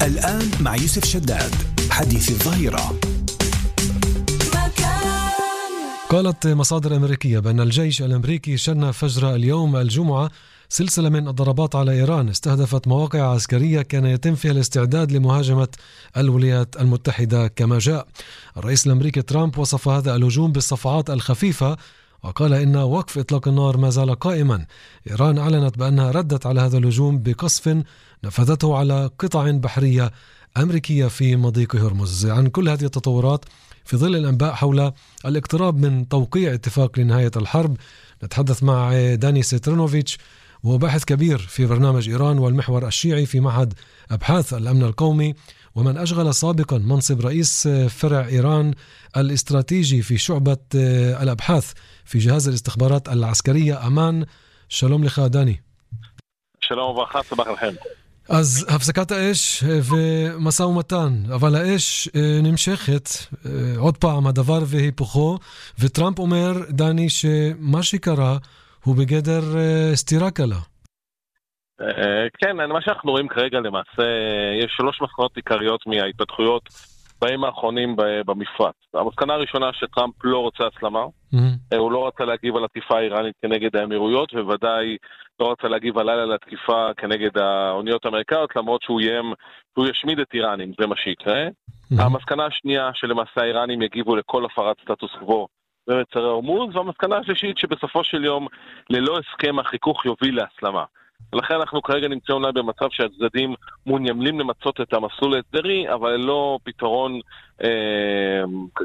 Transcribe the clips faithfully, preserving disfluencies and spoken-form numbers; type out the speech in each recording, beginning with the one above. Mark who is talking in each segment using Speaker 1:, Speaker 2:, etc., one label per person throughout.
Speaker 1: الآن مع يوسف شداد حديث الظهيرة.
Speaker 2: قالت مصادر أمريكية بأن الجيش الأمريكي شن فجر اليوم الجمعة سلسلة من الضربات على إيران استهدفت مواقع عسكرية كان يتم فيها الاستعداد لمهاجمة الولايات المتحدة كما جاء. الرئيس الأمريكي ترامب وصف هذا الهجوم بالصفعات الخفيفة وقال إن وقف إطلاق النار ما زال قائما. إيران أعلنت بأنها ردت على هذا الهجوم بقصف نفذته على قطع بحرية أمريكية في مضيق هرمز. عن كل هذه التطورات في ظل الأنباء حول الاقتراب من توقيع اتفاق لنهاية الحرب نتحدث مع داني سترانوفيتش، وهو باحث كبير في برنامج إيران والمحور الشيعي في معهد أبحاث الأمن القومي، ومن أشغل سابقا منصب رئيس فرع إيران الاستراتيجي في شعبة الأبحاث في جهاز الاستخبارات العسكرية أمان. שלום לך דני.
Speaker 3: שלום וברכה, סבח לכם.
Speaker 2: אז הפסקת האש ומשא ומתן, אבל האש נמשכת עוד פעם, הדבר והיפוכו, וטראמפ אומר, דני, שמה שקרה הוא בגדר סתירה קלה.
Speaker 3: כן, מה שאנחנו רואים כרגע למעשה, יש שלוש מסקנות עיקריות מההתפתחויות בימים האחרונים במפרץ. המסקנה הראשונה שטראמפ לא רוצה הסלמה, mm-hmm. הוא לא רצה להגיב על התקיפה האיראנית כנגד האמירויות, ובוודאי לא רצה להגיב הלילה לתקיפה כנגד האוניות האמריקאיות, למרות שהוא יים, שהוא ישמיד את איראנים, זה מה שיקרה. Mm-hmm. המסקנה השנייה שלמעשה האיראנים יגיבו לכל הפרת סטטוס קוו במצרי הורמוז, והמסקנה השלישית שבסופו של יום ללא הסכם החיכוך יוביל להסלמה. ולכן אנחנו כרגע נמצאים אולי במצב שהצדדים מעוניינים למצות את המסלול ההסדרי, אבל לא פתרון אה,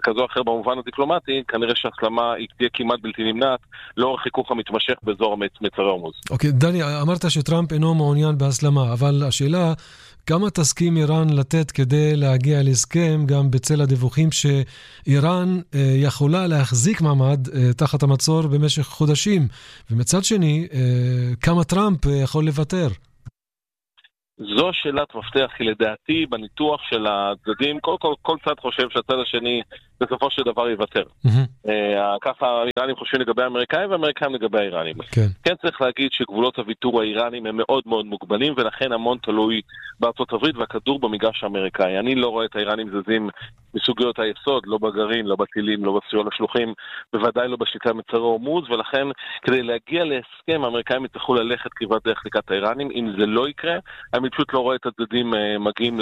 Speaker 3: כזו או אחר במובן הדיפלומטי. כנראה שהסלמה היא תהיה כמעט בלתי נמנעת לאור החיכוך המתמשך באזור מצרי הורמוז.
Speaker 2: אוקיי, דני, אמרת שטראמפ אינו מעוניין בהסלמה, אבל השאלה, כמה תסכים איראן לתת כדי להגיע להסכם, גם בצל הדיווחים שאיראן אה, יכולה להחזיק מעמד אה, תחת המצור במשך חודשים, ומצד שני, אה, כמה טראמפ אה, יכול לוותר?
Speaker 3: זו שאלת מפתח, כי לדעתי בניתוח של הצדדים, כל, כל, כל צד חושב שהצד השני בסופו של דבר יוותר. Mm-hmm. אה, ככה האיראנים חושבים לגבי האמריקאים והאמריקאים לגבי האיראנים. כן. כן צריך להגיד שגבולות הוויתור האיראנים הם מאוד מאוד מוגבלים, ולכן המון תלוי בארצות הברית והכדור במגרש האמריקאי. אני לא רואה את האיראנים זזים בסוגיות היסוד, לא בגרעין, לא בטילים, לא בסיוע לשלוחים, בוודאי לא בשליטה מצרי הורמוז, ולכן כדי להגיע להסכם האמריקאים יצטרכו ללכת כברת דרך לקראת האיראנים. אם זה לא יקרה, אני פשוט לא רואה את הצדדים מגיעים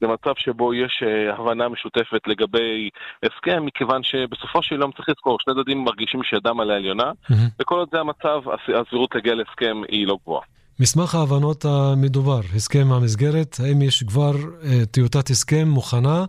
Speaker 3: למצב שבו יש הבנה משותפת לגבי הסכם, מכיוון שבסופו של יום צריך לזכור, שני צדדים מרגישים שידם על העליונה, mm-hmm. וכל עוד זה המצב, הסבירות להגיע להסכם היא לא גבוהה.
Speaker 2: מסמך ההבנות המדובר, הסכם המסגרת, האם יש כבר טיוטת הסכם מוכנה,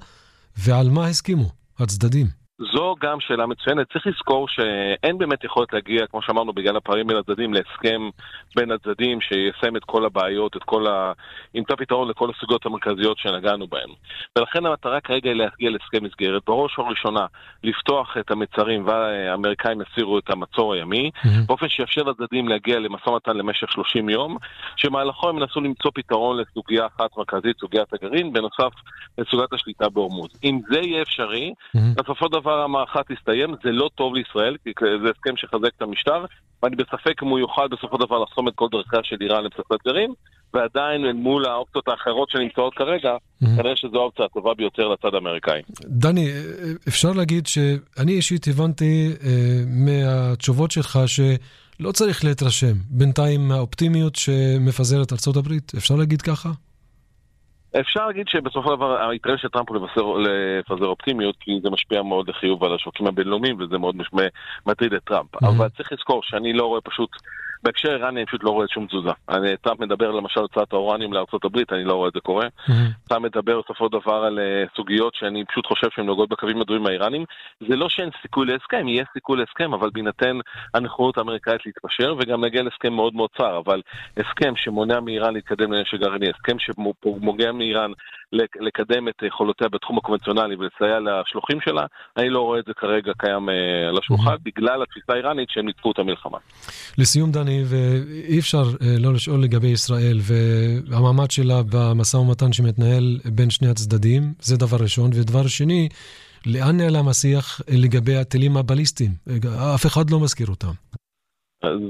Speaker 2: ועל מה הסכימו הצדדים?
Speaker 3: זו גם שאלה מצוינת. צריך לזכור שאין באמת יכולת להגיע, כמו שאמרנו, בגלל הפערים בין הצדדים, להסכם בין הצדדים שיסיים את כל הבעיות, את כל ה... ימצא פתרון לכל הסוגיות המרכזיות שנגענו בהן. ולכן המטרה כרגע היא להגיע להסכם מסגרת. בראש הראשונה, לפתוח את המצרים והאמריקאים יסירו את המצור הימי, mm-hmm. באופן שיאפשר לצדדים להגיע למשא ומתן למשך שלושים יום, שמהלכו הם ינסו למצוא פתרון לסוגיה אחת מרכזית, סוגיית הגרעין, בנוסף לסוגיית השליטה בהורמוז. אם זה יהיה אפשרי, mm-hmm. בסופו דבר המערכה תסתיים, זה לא טוב לישראל, כי זה הסכם שחזק את המשטר, ואני בספק אם הוא יוכל בסופו דבר לחסום את כל דרכה של איראן לפצצת גרעין, ועדיין מול האופציות האחרות שנמצאות כרגע, כנראה שזו האופציה הטובה ביותר לצד האמריקאי.
Speaker 2: דני, אפשר להגיד שאני אישית הבנתי מהתשובות שלך שלא צריך להתרשם בינתיים מהאופטימיות שמפזרת ארצות הברית, אפשר להגיד ככה?
Speaker 3: אפשר להגיד שבסופו של דבר היתרון של טראמפ הוא לפזר אופטימיות, כי זה משפיע מאוד לחיוב על השווקים הבינלאומיים, וזה מאוד מטריד את טראמפ. Mm-hmm. אבל צריך לזכור שאני לא רואה פשוט, בהקשר איראני אני פשוט לא רואה שום תזוזה. אני, טראמפ מדבר למשל על הוצאת האורניום לארצות הברית, אני לא רואה את זה קורה. Mm-hmm. טראמפ מדבר בסופו דבר על סוגיות שאני פשוט חושב שהן נוגעות בקווים הדומים האיראנים. זה לא שאין סיכוי להסכם, יהיה סיכוי להסכם, אבל בהינתן הנכונות האמריקאית להתפשר, וגם נגיע להסכם מאוד מאוד צר, אבל הסכם שמונע מאיראן להתקדם לנשק גרעיני, הסכם שמונע מאיראן לקדם את יכולותיה בתחום הקונבנציונלי ולסייע לשלוחים שלה, אני לא רואה את זה כרגע קיים על השולחן, mm-hmm. בגלל התפיסה האיראנית שהם ניצחו את המלחמה.
Speaker 2: לסיום דני, ואי אפשר לא לשאול לגבי ישראל והמעמד שלה במשא ומתן שמתנהל בין שני הצדדים, זה דבר ראשון, ודבר שני, לאן נעלם השיח לגבי הטילים הבליסטיים? אף אחד לא מזכיר אותם.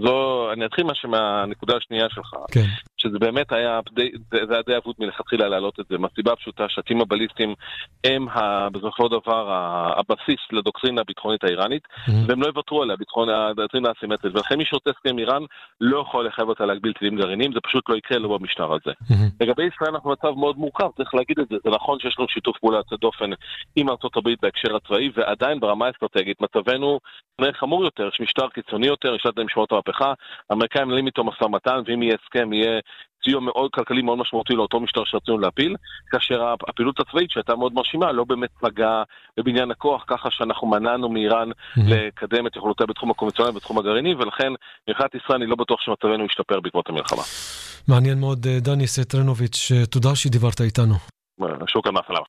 Speaker 3: זו, אני אתחיל משהו מהנקודה השנייה שלך.
Speaker 2: כן.
Speaker 3: שזה באמת היה, זה היה די אבוד מלכתחילה להעלות את זה, מהסיבה הפשוטה שהטילים הבליסטיים הם בסופו דבר הבסיס לדוקטרינה הביטחונית האיראנית, והם לא יוותרו עליה, הדוקטרינה האסימטרית, ולכן מי שרוצה הסכם איראן לא יכול לחייב אותה להגביל טילים גרעיניים, זה פשוט לא יקרה לו במשטר הזה. לגבי ישראל אנחנו מצב מאוד מורכב, צריך להגיד את זה, זה נכון שיש לנו שיתוף פעולה יוצא דופן עם ארצות הברית בהקשר הצבאי, ועדיין ברמה האסטרטגית מצבנו חמור יותר, יש משטר קיצוני יותר, יש להם משמעות המהפכה, האמריקאים מנהלים איתו משא ומתן, ואם יהיה הסכם, יהיה סיוע מאוד כלכלי מאוד משמעותי לאותו משטר שרצינו להפיל, כאשר הפעילות הצבאית שהייתה מאוד מרשימה לא באמת פגעה בבניין הכוח, ככה שאנחנו מנענו מאיראן לקדם את יכולותיה בתחום הקונבנציונלי ובתחום הגרעיני, ולכן מבחינת ישראל אני לא בטוח שמצבנו ישתפר בעקבות המלחמה.
Speaker 2: מעניין מאוד, דני סטרנוביץ', תודה שדיברת איתנו.
Speaker 3: שוקה מהסלאם.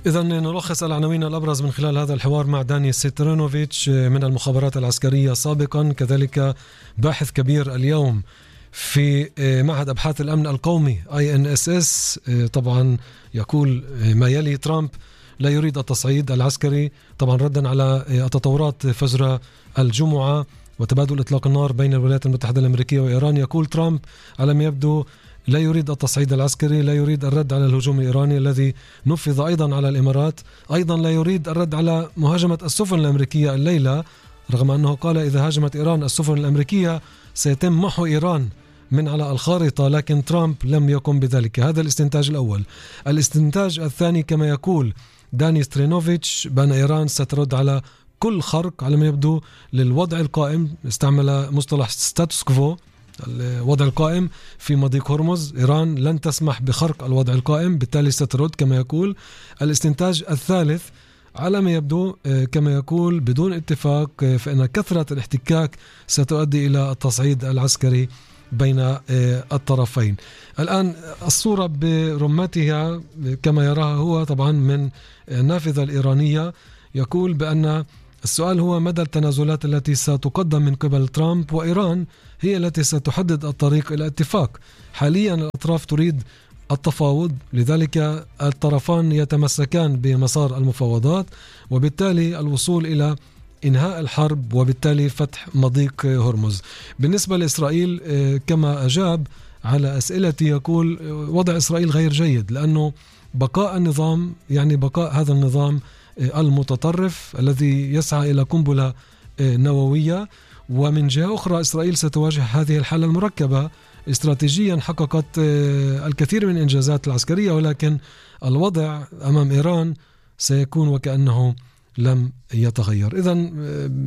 Speaker 2: إذن نلخص العناوين الأبرز من خلال هذا الحوار مع داني سترينوفيتش من المخابرات العسكرية سابقا، كذلك باحث كبير اليوم في معهد أبحاث الأمن القومي آي إن إس إس. طبعا يقول ما يلي ترامب لا يريد التصعيد العسكري، طبعا ردا على التطورات فجر الجمعة وتبادل إطلاق النار بين الولايات المتحدة الأمريكية وإيران. يقول ترامب على ما يبدو لا يريد التصعيد العسكري، لا يريد الرد على الهجوم الإيراني الذي نفذ أيضا على الإمارات، أيضا لا يريد الرد على مهاجمة السفن الأمريكية الليلة، رغم أنه قال إذا هاجمت إيران السفن الأمريكية سيتم محو إيران من على الخارطة، لكن ترامب لم يقم بذلك. هذا الاستنتاج الأول. الاستنتاج الثاني كما يقول داني سترينوفيتش بأن إيران سترد على كل خرق على ما يبدو للوضع القائم، استعمل مصطلح ستاتوس كوفو، الوضع القائم في مضيق هرمز. إيران لن تسمح بخرق الوضع القائم، بالتالي سترد كما يقول. الاستنتاج الثالث على ما يبدو كما يقول بدون اتفاق فإن كثرة الاحتكاك ستؤدي إلى التصعيد العسكري بين الطرفين. الآن الصورة برمتها كما يراها هو طبعا من النافذة الإيرانية، يقول بأن السؤال هو مدى التنازلات التي ستقدم من قبل ترامب، وإيران هي التي ستحدد الطريق إلى اتفاق. حاليا الأطراف تريد التفاوض، لذلك الطرفان يتمسكان بمسار المفاوضات وبالتالي الوصول إلى إنهاء الحرب وبالتالي فتح مضيق هرمز. بالنسبة لإسرائيل كما أجاب على أسئلتي يقول وضع إسرائيل غير جيد، لأنه بقاء النظام يعني بقاء هذا النظام المتطرف الذي يسعى إلى قنبلة نووية، ومن جهة أخرى إسرائيل ستواجه هذه الحالة المركبة. استراتيجيا حققت الكثير من الإنجازات العسكرية، ولكن الوضع أمام إيران سيكون وكأنه لم يتغير. إذن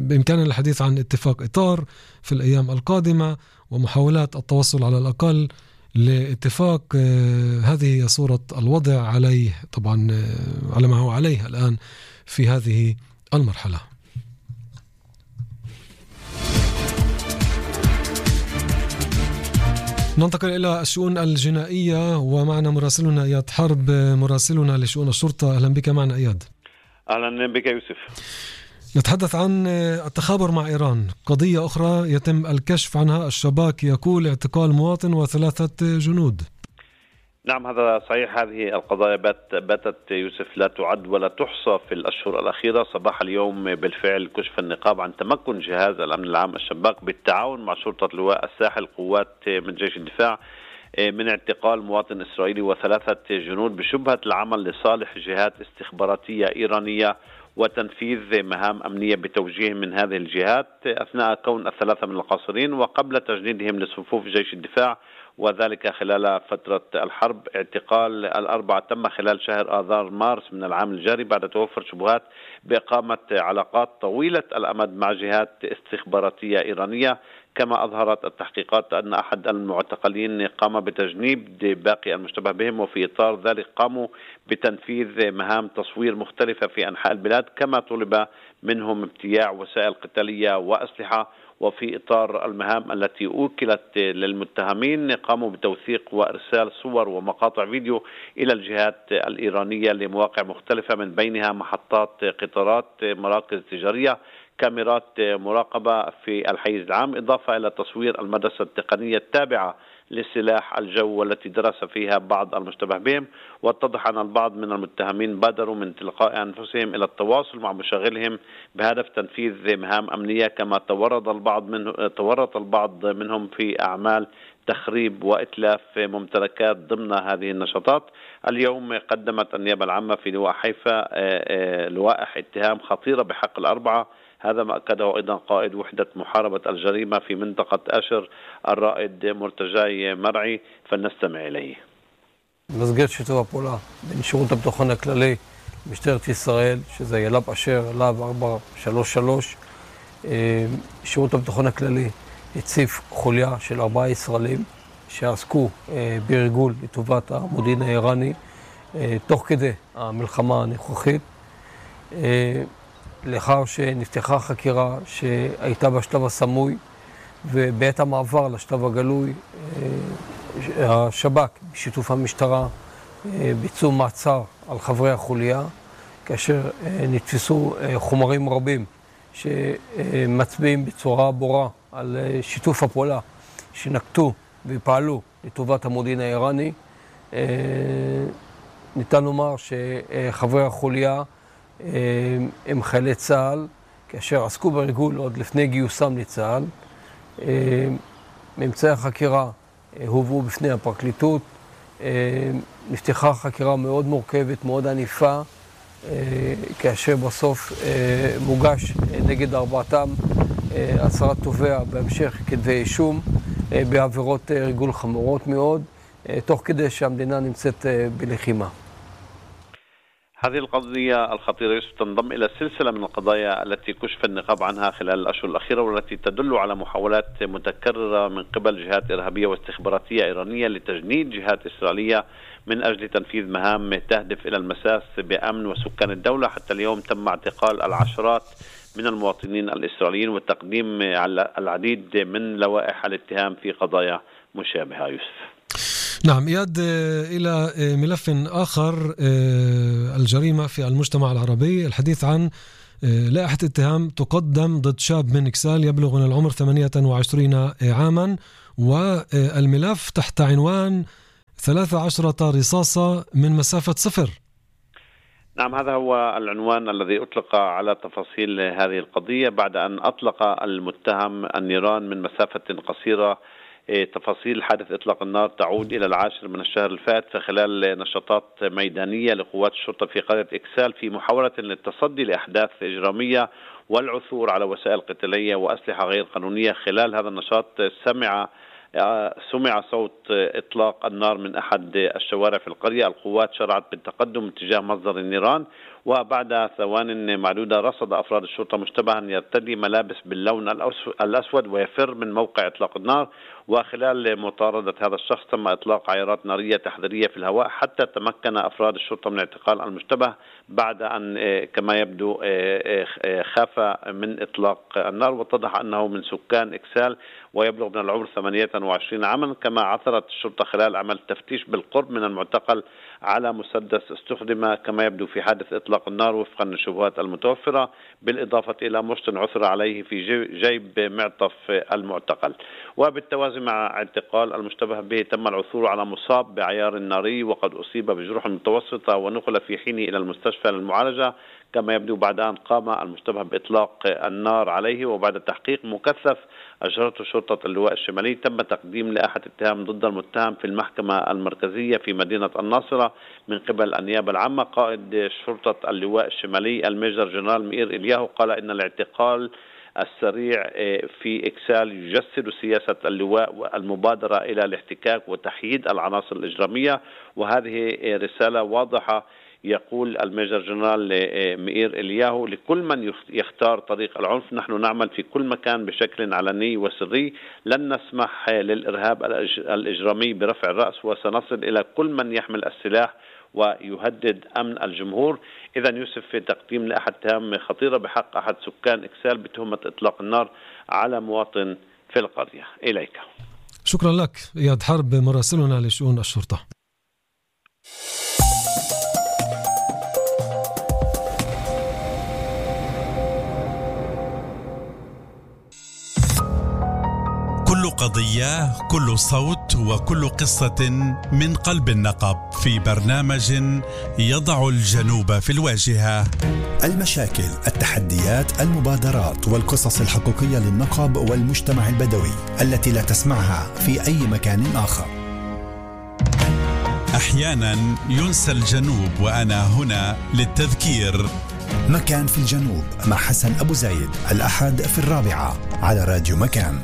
Speaker 2: بإمكاننا الحديث عن اتفاق إطار في الأيام القادمة ومحاولات التوصل على الأقل لاتفاق. هذه صورة الوضع عليه طبعا على ما هو عليه الآن في هذه المرحلة. ننتقل إلى الشؤون الجنائية ومعنا مراسلنا إياد حرب، مراسلنا لشؤون الشرطة. أهلا بك معنا إياد.
Speaker 4: أهلا بك يوسف.
Speaker 2: نتحدث عن التخابر مع إيران، قضية أخرى يتم الكشف عنها، الشباك يقول اعتقال مواطن وثلاثة جنود.
Speaker 4: نعم هذا صحيح، هذه القضايا باتت يوسف لا تعد ولا تحصى في الأشهر الأخيرة. صباح اليوم بالفعل كشف النقاب عن تمكن جهاز الأمن العام الشباك بالتعاون مع شرطة لواء الساحل قوات من جيش الدفاع من اعتقال مواطن إسرائيلي وثلاثة جنود بشبهة العمل لصالح جهات استخباراتية إيرانية وتنفيذ مهام أمنية بتوجيه من هذه الجهات أثناء كون الثلاثة من القاصرين وقبل تجنيدهم لصفوف جيش الدفاع، وذلك خلال فترة الحرب. اعتقال الأربعة تم خلال شهر آذار مارس من العام الجاري بعد توفر شبهات بإقامة علاقات طويلة الأمد مع جهات استخباراتية إيرانية. كما أظهرت التحقيقات أن أحد المعتقلين قام بتجنيد باقي المشتبه بهم، وفي إطار ذلك قاموا بتنفيذ مهام تصوير مختلفة في أنحاء البلاد، كما طلب منهم ابتياع وسائل قتالية وأسلحة. وفي إطار المهام التي أوكلت للمتهمين قاموا بتوثيق وإرسال صور ومقاطع فيديو إلى الجهات الإيرانية لمواقع مختلفة من بينها محطات قطارات، مراكز تجارية، كاميرات مراقبة في الحيز العام، إضافة إلى تصوير المدرسة التقنية التابعة لسلاح الجو والتي درس فيها بعض المشتبه بهم. واتضح أن البعض من المتهمين بادروا من تلقاء أنفسهم إلى التواصل مع مشاغلهم بهدف تنفيذ مهام أمنية، كما تورط البعض منه تورط البعض منهم في أعمال تخريب وإتلاف ممتلكات ضمن هذه النشاطات. اليوم قدمت النيابة العامة في لواء حيفا لوائح اتهام خطيرة بحق الأربعة. هذا ما أكده أيضا قائد وحدة محاربة الجريمة في منطقة أشر الرائد مرتجاي مرعي، فلنستمع إليه.
Speaker 5: במסגרת שיתוף הפעולה בין שירות הביטחון הכללי משטרת ישראל, שזה יל"ב אשר, להב ארבע שלוש שלוש, שירות הביטחון הכללי הציף חוליה של ארבעה ישראלים שעסקו בריגול לטובת המודיעין האיראני תוך כדי המלחמה הנוכחית. לאחר שנפתחה חקירה שהייתה בשלב הסמוי, ובעת המעבר לשלב הגלוי השב"כ בשיתוף המשטרה ביצעו מעצר על חברי החוליה, כאשר נתפסו חומרים רבים שמצביעים בצורה ברורה על שיתוף הפעולה שנקטו ופעלו לטובת המודיעין האיראני. ניתן לומר שחברי החוליה הם חיילי צה"ל, כאשר עסקו בריגול עוד לפני גיוסם לצה"ל. ממצאי החקירה הובאו בפני הפרקליטות. נפתחה חקירה מאוד מורכבת, מאוד עניפה, כאשר בסוף מוגש נגד ארבעתם הצהרת תובע בהמשך כתבי אישום בעבירות ריגול חמורות מאוד, תוך כדי שהמדינה נמצאת בלחימה.
Speaker 4: هذه القضية الخطيرة تنضم إلى سلسلة من القضايا التي كشف النقاب عنها خلال الأشهر الأخيرة، والتي تدل على محاولات متكررة من قبل جهات إرهابية واستخباراتية إيرانية لتجنيد جهات إسرائيلية من أجل تنفيذ مهام تهدف إلى المساس بأمن وسكان الدولة. حتى اليوم تم اعتقال العشرات من المواطنين الإسرائيليين وتقديم العديد من لوائح الاتهام في قضايا مشابهة. يوسف.
Speaker 2: نعم إياد، إلى ملف آخر، الجريمة في المجتمع العربي، الحديث عن لائحة اتهام تقدم ضد شاب من إكسال يبلغ من العمر ثمانية وعشرين عاما، والملف تحت عنوان ثلاث عشرة رصاصة من مسافة صفر.
Speaker 4: نعم، هذا هو العنوان الذي أطلق على تفاصيل هذه القضية بعد أن أطلق المتهم النيران من مسافة قصيرة. تفاصيل حادث إطلاق النار تعود إلى العاشر من الشهر الفات في خلال نشاطات ميدانية لقوات الشرطة في قرية إكسال في محاولة للتصدي لأحداث إجرامية والعثور على وسائل قتالية وأسلحة غير قانونية. خلال هذا النشاط سمع سمع صوت إطلاق النار من أحد الشوارع في القرية. القوات شرعت بالتقدم اتجاه مصدر النيران، وبعد ثوان معدودة رصد أفراد الشرطة مشتبها يرتدي ملابس باللون الأسود ويفر من موقع إطلاق النار. وخلال مطاردة هذا الشخص تم إطلاق عيارات نارية تحذيرية في الهواء حتى تمكن أفراد الشرطة من اعتقال المشتبه بعد أن كما يبدو خاف من إطلاق النار. واتضح أنه من سكان إكسال ويبلغ من العمر ثمانية وعشرين عاما. كما عثرت الشرطة خلال عمل تفتيش بالقرب من المعتقل على مسدس استخدم كما يبدو في حادث إطلاق النار وفقا للشبهات المتوفرة، بالإضافة إلى مشط عثر عليه في جيب معطف المعتقل. وبالتوازي مع اعتقال المشتبه به تم العثور على مصاب بعيار ناري وقد أصيب بجروح متوسطة ونقل في حينه إلى المستشفى للمعالجة. كما يبدو بعد أن قام المشتبه بإطلاق النار عليه وبعد تحقيق مكثف أجرته شرطة اللواء الشمالي تم تقديم لائحة اتهام ضد المتهم في المحكمة المركزية في مدينة الناصرة من قبل النيابة العامة. قائد شرطة اللواء الشمالي الميجر جنرال مئير إلياهو قال إن الاعتقال السريع في إكسال يجسد سياسة اللواء والمبادرة إلى الاحتكاك وتحييد العناصر الإجرامية، وهذه رسالة واضحة يقول الميجر جنرال مئير إلياهو لكل من يختار طريق العنف: نحن نعمل في كل مكان بشكل علني وسري، لن نسمح للإرهاب الإجرامي برفع الرأس، وسنصل إلى كل من يحمل السلاح ويهدد أمن الجمهور. إذا يوسف في تقديم لأحد اتهام خطيرة بحق أحد سكان إكسال بتهمة إطلاق النار على مواطن في القرية. إليك.
Speaker 2: شكرا لك إياد حرب، مراسلنا لشؤون الشرطة.
Speaker 6: كل قضية، كل صوت، وكل قصة من قلب النقب في برنامج يضع الجنوب في الواجهة.
Speaker 1: المشاكل، التحديات، المبادرات والقصص الحقيقية للنقب والمجتمع البدوي التي لا تسمعها في أي مكان آخر.
Speaker 6: أحيانا ينسى الجنوب وأنا هنا للتذكير.
Speaker 1: مكان في الجنوب مع حسن أبو زايد، الأحد في الرابعة على راديو مكان.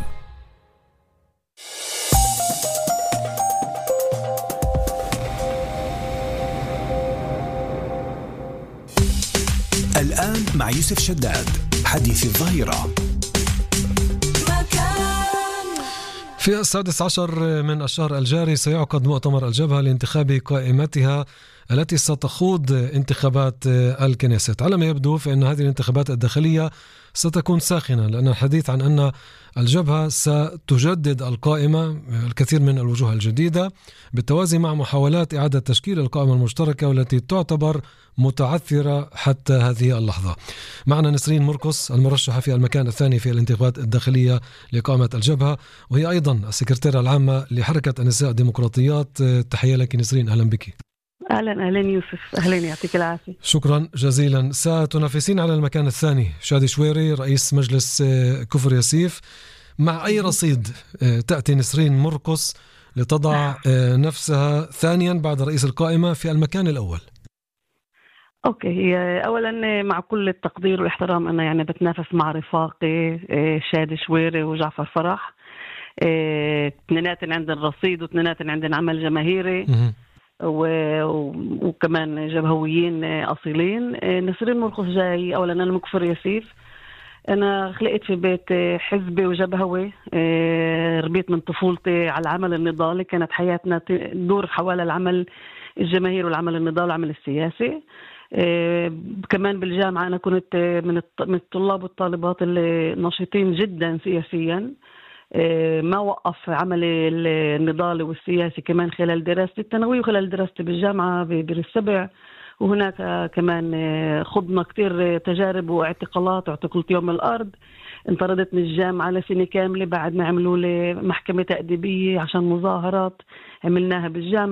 Speaker 1: الآن مع يوسف شداد، حديث الظهيرة.
Speaker 2: في السادس عشر من الشهر الجاري سيعقد مؤتمر الجبهة لانتخاب قائمتها التي ستخوض انتخابات الكنيست. على ما يبدو فإن هذه الانتخابات الداخلية ستكون ساخنة، لأن الحديث عن أن الجبهة ستجدد القائمة، الكثير من الوجوه الجديدة، بالتوازي مع محاولات إعادة تشكيل القائمة المشتركة والتي تعتبر متعثرة حتى هذه اللحظة. معنا نسرين مرقص المرشحة في المكان الثاني في الانتخابات الداخلية لقائمة الجبهة، وهي أيضا السكرتيرة العامة لحركة النساء الديمقراطيات. تحية لك نسرين، أهلا بك.
Speaker 7: أهلا أهلا يوسف، أهلا، يعطيك العافية.
Speaker 2: شكرا جزيلا. ستنافسين على المكان الثاني شادي شويري رئيس مجلس كفر ياسيف. مع أي رصيد تأتي نسرين مرقص لتضع نفسها ثانيا بعد رئيس القائمة في المكان الأول؟
Speaker 7: أوكي، أولا مع كل التقدير والاحترام أنا يعني بتنافس مع رفاقي شادي شويري وجعفر فرح، اثنيناتن عندن رصيد واثنيناتن عندن عمل جماهيري وكمان جبهويين أصيلين. نسرين مرقص جاي، أولا أنا مكفر ياسيف، أنا خلقت في بيت حزبي وجبهوي، ربيت من طفولتي على العمل النضالي، كانت حياتنا تدور حوالي العمل الجماهيري والعمل النضالي والعمل السياسي. كمان بالجامعة أنا كنت من الطلاب والطالبات اللي نشيطين جدا سياسيا، ما وقف عملي النضالي والسياسي كمان خلال دراستي الثانوية وخلال دراستي بالجامعة ببير السبع، وهناك كمان خضنا كتير تجارب واعتقالات، واعتقلت يوم الأرض، انطردت من الجامعة لسنة كاملة بعد ما عملوا لي محكمة تأديبية عشان مظاهرات عملناها بالجامعة.